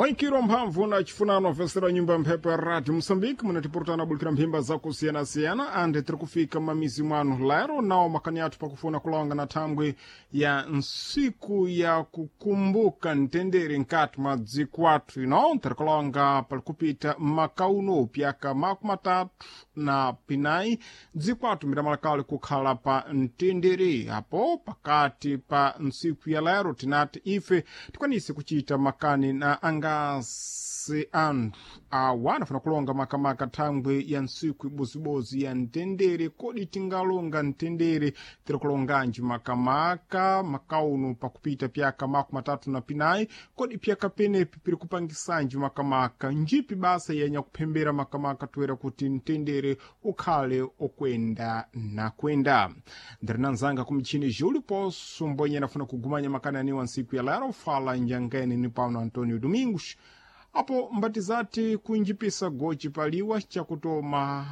Mwaikiro mphamvu na chifunano vesera nyumba mphepo ya Radio Moçambique munatipurutana bulikira mphimba zakusiyana-siyana ande tiri kufika mamizi mwanu lero nawo makani athu pakufuna kulonga na thangwi ya nsiku ya kukumbuka mtendere nkati mwa dziko athu ino tiri kulonga pali kupita makauno pyaka 34 dziko athu miramalakale kukhala pa mtendere apo pakati pa nsiku ya lero tinati ife tikwanise kuchita makani na angasi anthu awa anafuna kulonga makamaka thangwi ya ntsiku ibozibozi ya mtendere. Kodi tingalonga mtendere tiri kulonganji makamaka makauno pakupita pyaka 34? Kodi pyaka penepi piri kupangisanji makamaka njipi basa yenya kuphembera makamaka toera kuti mtendere ukhale okwenda na kwenda? Ndiri na nzanga kumichini Júlio Poço mbwenye anafuna kugumanya makani aniwa ntsiku ya lero fala njangene ni Paulo Antônio Domingos apo mbatizati kunjipisa gochi paliwa chakutoma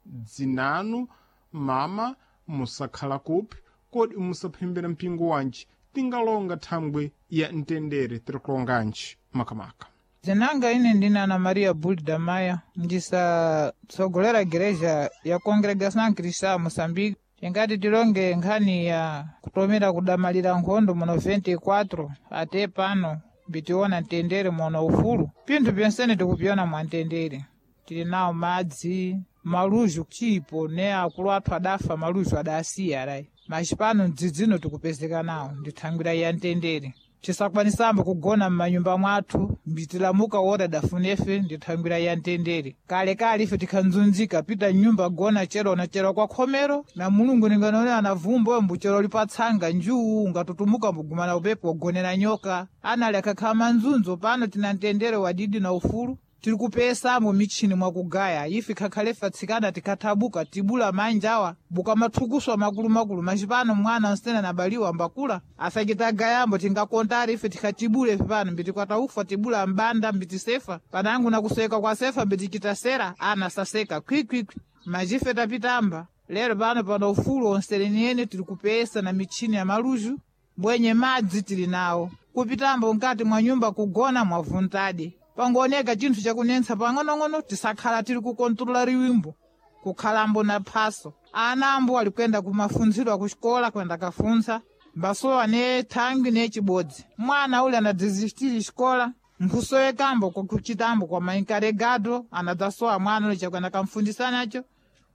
dzinanu mama musakhala kupi kodi musaphembera mpingo wanji tingalonga thangwi ya mtendere tiri kulonganji makamaka. Zinanga ine ndine Ana Maria Bulda Maya, ndisatsogolera gereja ya Congregação Cristã Moçambique. Tingati tilonge nkhani ya kutomera kudamalira nkhondo muno 24 ate pano mbitiona mtendere muno ufulu. Pinthu pyensene tikupyona mwa mtendere, tili nawo madzi maluju chipo ne akulu athu adafa maluju adasiya alayi maxipano mdzidzino tikupezeka nawo ndithangwira ya mtendere. Tisakwanisambo kugona m'manyumba mwathu mbitilamuka wora dafunefe ndithangwira ya mtendere. Kalekale ife tikhanzunzika pita mnyumba gona chero na chero kwa khomero na mulungu ninganone anavumba mbuchero lipatsanga njuu ungatutumuka mbugumana upepo wagonera nyoka anali akakhala manzunzo. Pano tina mtendere wadidi na ufulu tiri kupesamo michini mwakugaya ife khakhalefe atsikana tikathabuka tibula manjawa bukamathukuswa makulumakulu macipano mwana nsena nabaliwa mbakula asachitagayambo tingakontari ife tikhatibule ife pano mbitikwataufa tibula mbanda mbitisefa panangu nakuseka kwa sefa mbitichitasera ana saseka khwikhwikhwi machife tapitamba lero pano pano ufulu onseleniyene tiri kupesa na michini ya maluju mbwenye madzi tili nawo kupitambo mkati mwa nyumba kugona mwavuntadi pangooneka chinthu chakunentsa pang'onong'ono tisakhala tili kukontrola riwimbo kukhalambo na phaso. Ana ambo ali kuyenda kumafunziro akuxikola kuyenda kafuntsa mbasowa ne thangwi ne chibodzi mwana uli anadzizistiri xikola nkhusowekambo kwakuchitambo kwa mainkaregado anadzasowa mwana uli chakwenda kamfundisa nacho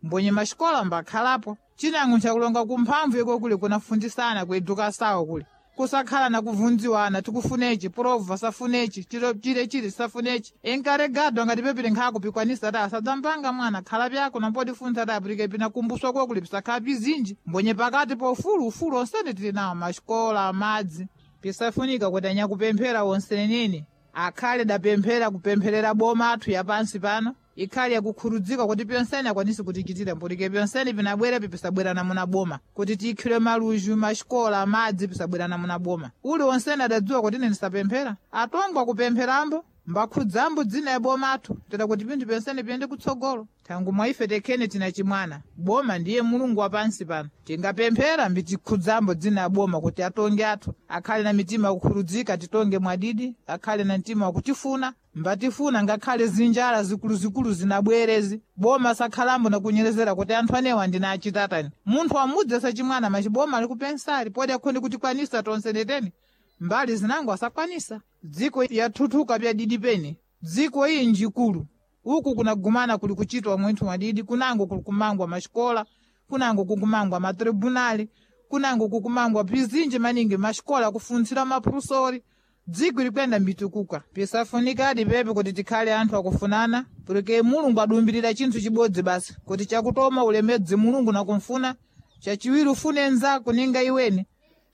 mbonye maxikola mbakhalapo chinango nchakulonga kumphamvu iko kuli kunafundisana kuedukasawo kuli kusakhala na kuvunziwana tikufunechi prova safunechi chilo chile chile safunechi enkaregado angatipepere nkhako pikwanisa ta sadzambanga mwana khala pyako nampodifuntha ta apulike pina kumbuswa kwakuli pisakhala pizinji mbonye pakati pa ufulu ufulu onsene tili nawo maxikola madzi pisafunika kuti anyakupemphera onsenenene akhale dapemphera kupempherera boma athu yapansi pano ikhale yakukhurudzika kuti pyonsene akwanise kutichitira mpotike pyonsene pinabwera pisabwera namuna boma kuti tiikhire maluju maxikola madzi pisabwera namuna boma uli onsene adadziwa kuti ine ndisapemphera atongwa kupempherambo mbakhudzambo dzina ya boma athu tera kuti pinthu pyonsene piyende kutsogolo thangu mwa ife tekhene tina chimwana boma ndiye mulungu wa pansi pano tingapemphera mbitikhudzambo dzina ya boma kuti atonge athu akhale na mitima yakukhurudzika titonge mwadidi akhale na mtima wakutifuna mbatifuna ngakhale zinjala zikuluzikulu zinabwerezi boma sakhalambo nakunyerezera kuti anthu anewa ndina achitatani munthu amudzi sachimwana machiboma ali kupensali podi akhonde kutikwanisa tonse neteni mbali zinango asakwanisa dziko yathuthuka pyadidi pene dziko iyi njikulu uku kunagumana kuli kuchitwa mwinthu mwadidi kunango kuli kumangwa maxikola kunango kukumangwa matribunali kunango kukumangwa pizinji maningi maxikola kufuntsira maphusori dziko likwenda mbitukuka pisafunikadi pepe kuti tikhale anthu akufunana porque mulungu adumbirira chinthu chibodzi basi kuti chakutoma ulemedzi mulungu nakumfuna chachiwiri ufune nzako ninga iweni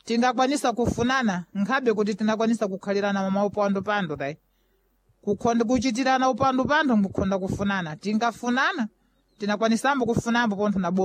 tingakwanisa kufunana nkhabe kuti tinakwanisa kukhalirana mamaupandupando tayi kukhonda kuchitirana upandupando nkukhonda kufunana tingafunana tinakwanisambo kufunambo pontho na boma.